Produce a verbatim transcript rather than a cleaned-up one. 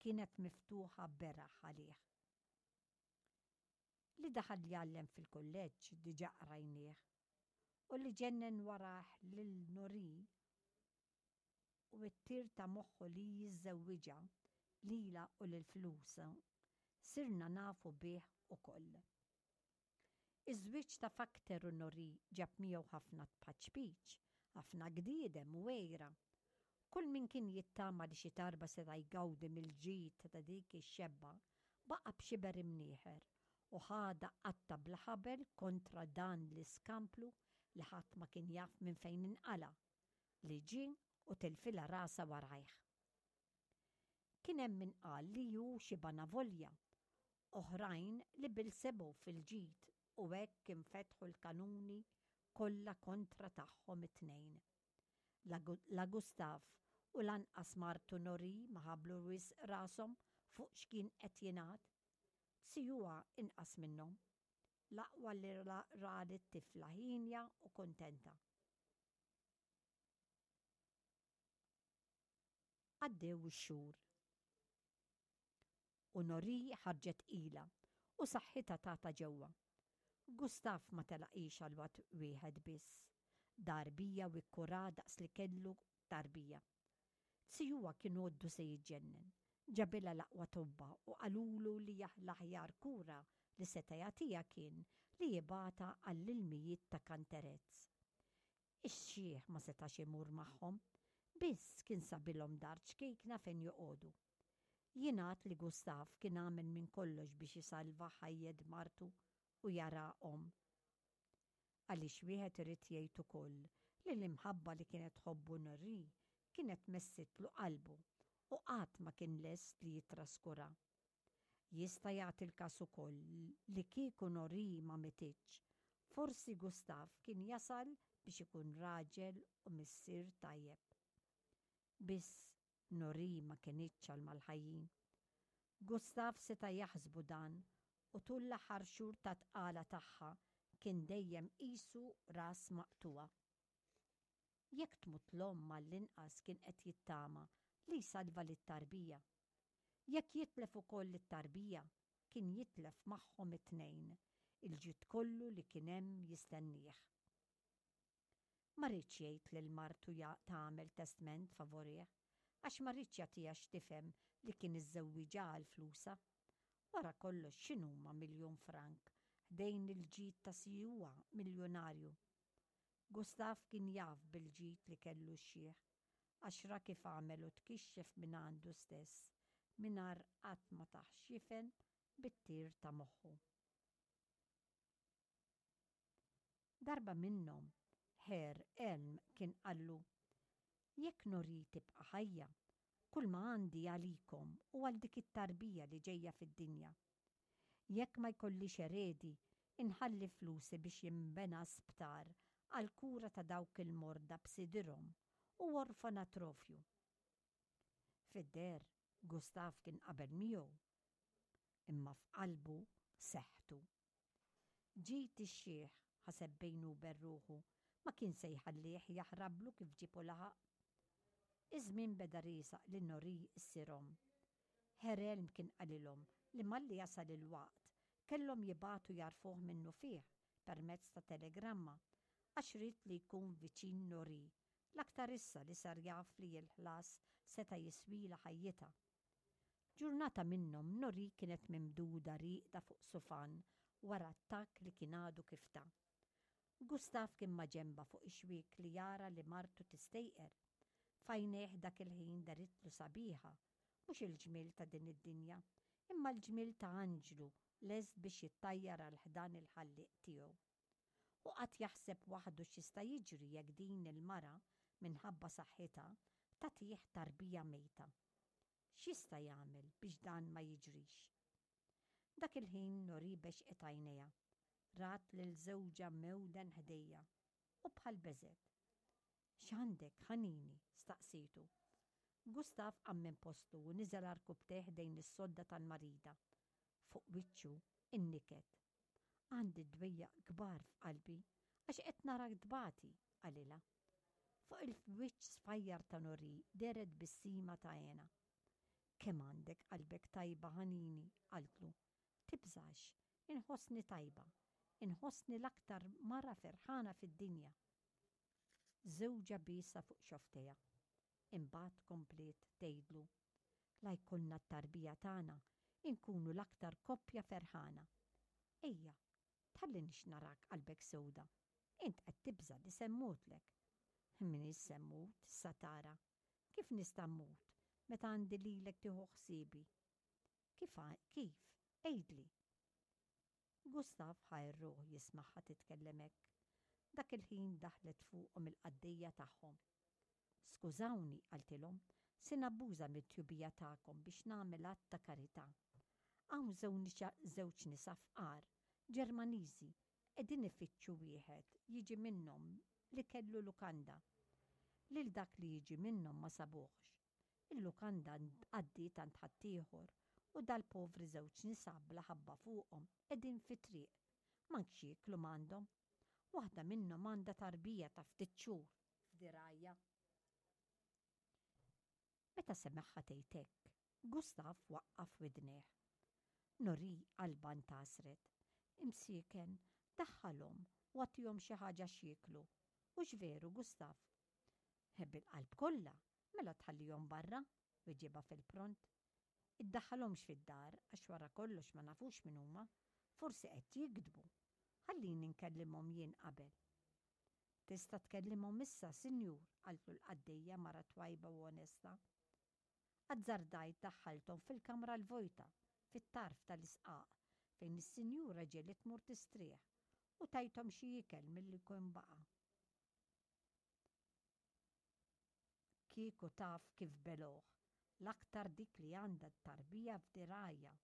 kienet miftuħa beraħ għalih. Li daħal jgħallem fil-kulleġġ diġà qrajnieh u li ġennen warah lil Norì u t-tir ta' moħħu li jiżżewwiġha lilha u lil flusha sirna nafu bih ukoll. Iż-żwieġ ta' Fakter u Norì ġab miegħu ħafna tpaċpiċ, ħafna gdiedem u għira. Kull min kien jittama li xi darba seta' jgawdi mill-ġid ta' dik ix-xebba baqa' b'xiber imnieħer u ħadha qatta bla ħabel kontra dan l-iskamplu li ħadd ma kien jaf minn fejn inqala' li ġie u tilfilha rasha warajh. Kien hemm min qal li hu xi banavolja, oħrajn li bilsebu fil-ġid u hekk infetħu l-kanuni kollha kontra tagħhom it-tnejn. La Gustav u lanqas martu Norì ma ħablu wisq rashom fuq x'kien qed jingħad. Sijuha inqas minnhom. L-aqwa li ra lit-tifla ħienja u kuntenta. Għaddew ix-xhur. U Norì ħarġet tqila u saħħitha tagħta ġewwa. Gustav ma telaqhiex għal waqt wieħed biss. Dar bija u kkurha daqs li kellu tarbija. Sijuha kien għoddu se jiġġennen. Ġabilha l-aqwa tobba u qalulu li l-aħjar kura li seta' jagħtiha kien li jibgħatha għall-ilmijiet ta' Kanterezz. Ix-xiħ ma setax imur magħhom, biss kien sabilhom dar ċkejkna fejn joqogħdu. Jingħad li Gustav kien għamel minn kollox biex isalva ħajjet martu u jara omm. Għaliex wieħed irid jgħid ukoll li l-imħabba li kienet tħobbu Norì kienet messitlu qalbu u qatt ma kien lest li jittraskura. Jista' jagħti l-każ ukoll li kieku Norì ma mititx, forsi Gustav kien jasal biex ikun raġel u missier tajjeb. Biss Norì ma kinitx għal mal-ħajjin. Gustav seta' jaħsbu dan u tul l-aħħar xhur ta' tqala tagħha kien dejjem qisu ras maqtugħa. Jekk tmut l-omm għall-inqas kien qed jittama li jsalva lit-tarbija. Jekk jitlef ukoll lit-tarbija, kien jitlef magħhom it-tnejn il-ġid kollu li kien hemm jistennieh. Ma riedx jgħid lil martu tagħmel testment favorih, għax ma riedx jagħtiha x'tifhem li kien iżżewwiġha għal flusha. Wara kollox x'inhuma miljun frank ħdejn il-ġid ta' sijuha miljonarju. Gustav kien jaf bil-ġid li kellu x-xiħ, għax ra kif għamel u tkixxef minn għandu stess, mingħajr qatt ma tah x'jifhem bit-tir ta' moħħu. Darba minnhom, Herr Elm kien qallu, Jekk Norì tibqa' ħajja, kulma għandi għalikom u għal dik it-tarbija li ġejja fid-dinja. Jekk ma jkollix eredi, inħalli flusi biex jinbena sptar għall-kura ta' dawk il-morda b'sidirhom u orfanatrofju. Fid-deher, Gustav kien qabel miegħu, imma f'qalbu seħħtu. Ġid ix-xiħ, ħaseb bejnu u ben ruħu, ma kien se jħallih jaħrablu kif ġieb u laħaq. Iż-żmien beda riesaq li Norì ssir omm. Herr Elm kien qalilhom li malli jasal il-waqt kellhom jibagħtu jgħarrfuh minnufih permezz ta' telegramma għax ried li jkun viċin Norì, l-aktar issa li sar jaf li l-ħlas seta' jiswilha ħajjitha. Ġurnata minnhom Norì kienet mimduda rieqda fuq sufan wara attakk li kien għadu kif ta. Gustav kien maġenbha fuq ix-xwiek li jara li martu tistejqer. F'għajnejh dak il-ħin deritlu sabiħa, mhux il-ġmiel ta' din id-dinja, imma l-ġmiel ta' anġlu lest biex jittajjar għal ħdan il-Ħallieq tiegħu. Hu qagħad jaħseb waħdu x'jista' jiġri jekk din il-mara, minħabba saħħitha, tagħtih tarbija mejta. X'jista' jagħmel biex dan ma jiġrix? Dak il-ħin Norì bexqet għajnejha. Rat lil żewġha mewden ħdejha u bħal beżgħet. X'għandek, ħanini? staqsietu. Gustav qam minn postu u niżel għarkupptejh ħdejn is-sodda tal-marida. Fuq wiċċu in-niket. Għandi dwejjaq kbar f'qalbi għax qed narak tbati, qalilha. Fuq il-wiċċ sfajjar ta' Norì dehret tbissima ta' hena. Kemm għandek qalbek tajba, ħanini, qaltlu. Tibżax, inħossni tajba, inħossni l-aktar mara ferħana fid-dinja. Żewġha biesha fuq xofftejha. Imbagħad kompliet tgħidlu, La jkollna t-tarbija tagħna, inkunu l-aktar koppja ferħana. Ejja, tħallinix narak qalbek sewda. Int qed tibża' li se mmutlek. M'iniex se mmut, issa tara. Kif nista' mmut meta għandi lilek tieħu ħsiebi? Kif kif? Għidli. Gustav ħa r-ruħ jismagħha titkellem hekk. Dak il-ħin daħlet fuqhom il-qaddejja tagħhom. Skużawni, qaltilhom, se nabbuża mit-tjubija tagħkom biex nagħmel att ta' karità. Hawn żewġ nisa fqar, Ġermaniżi, qegħdin ifittxu wieħed jiġi minnhom li kellu lukanda. Lil dak li jiġi minnhom ma sabuhx. Il-lukanda għaddiet għand ħaddieħor u dal-povri żewġ nisa bla ħabba fuqhom qegħdin fit-triq. Mank x'jieklu m'għandhom. Waħda minnhom għandha tarbija ta' ftit xhur f'dirgħajha. Meta semagħha tgħid hekk, Gustav waqqaf widnejh. Nori qalbha ntgħasret. Imsieken, daħħalhom u agħtihom xi ħaġa x'jieklu. Hux veru, Gustav? Bil-qalb kollha, mela tħallihom barra, weġibha fil-pront. Iddaħħalhomx fid-dar għax wara kollox ma nafux min huma, forsi qed jigdbu. Ħallini nkellimhom jien qabel. Tista' tkellimhom issa, sinjur, qaltlu l-qaddejja mara twajba u onesta. Azzardajt daħħalthom fil-kamra l-vojta, fit-tarf tal-isqaq, fejn is-sinjura ġieli tmur tistrieħ, u tajthom xi ikel milli jkun baqa'. Kieku taf kif belgħuh, l-aktar dik li għandha t-tarbija f'dirgħajha.